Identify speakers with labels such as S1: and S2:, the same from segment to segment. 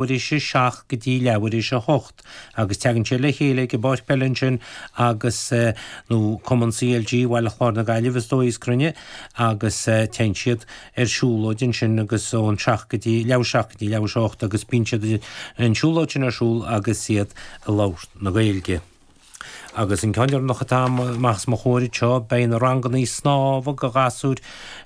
S1: Leathuair théis a 7 go dtí leathuair théis a 8 agus teagann siad le chéile ag an bpáirc peile ansin agus, nó Cumann CLG Bhaile Chláir na Gaillimhe is dóigh is cruinne, agus téann siad ar siúlóid ansin agus ón 7 go dtí leathuair 7 go dtí leathuair théis a 8 agus bíonn siad an siúlóid sin ar siúl agus iad ag labhairt na Gaeilge. Agus an ceann deireanach atá amach os mo chomhair anseo, beidh na rangannaí snámha do ghasúir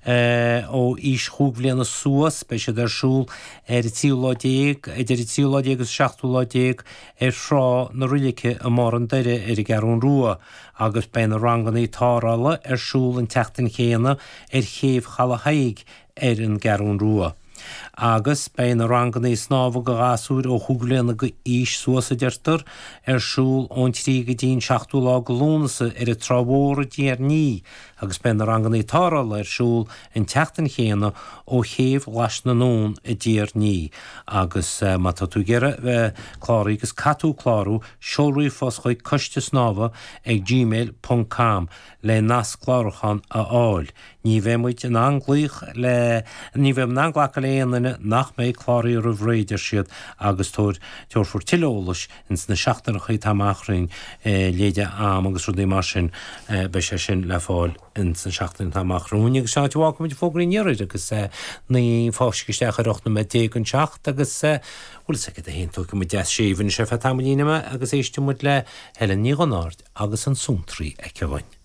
S1: ó aois chúig bhliana suas, beidh siad ar siúl ar an tríú lá déag, idir an tríú lá déag agus an seachtú lá déag ar Thrá na Roilice i mBarr an Doire ar an gCeathrún Rua agus beidh na rangannaí tarrthála ar siúl an tseachtain chéanna ar Chéibh Chaladh Thaidhg ar an gCeathrún Rua. Agus beidh na rangannaí snámha do ghasúir ó chúig bhliana d'aois suas, a deirtear, ar siúl ón 3 go dtí an 7ú lá de Lúnasa ar an Trá Mhór i dTír an Fhia agus beidh na rangannaí tarrthála ar siúl an tseachtain chéanna ó Chéibh Ghlais na nDún i dTír an Fhia. Agus má tá tú ag iarraidh bheith cláraithe agus caithfidh tú clárú, seol ríomhphost chuig coiste snámha ag gmail ponc com le nasc clárúcháin a fháil. Ní bheidh muid in ann glaoch le, ní bheidh in ann glacadh le aon duine nach mbeidh cláraithe roimh ré, a deir siad, agus tabhair, tabharfar tuilleadh eolais ins na seachtaineacha atá amach romhainn, leide am agus rudaí mar sin, beidh sé sin le fáil ins na seachtainí atá amach romhainn. Agus sin áit a bhfágfaidh muid fógraí an iarthair agus naoi fáiscthe isteach ar 18 nóiméad don seacht agus bhfuil fhios agat féin, tógfaidh muid deas séimh anois ar feadh tamaillín ama agus éistfidh muid le Helen Ní Dhonnaird agus an Suantraí aici dhúinn.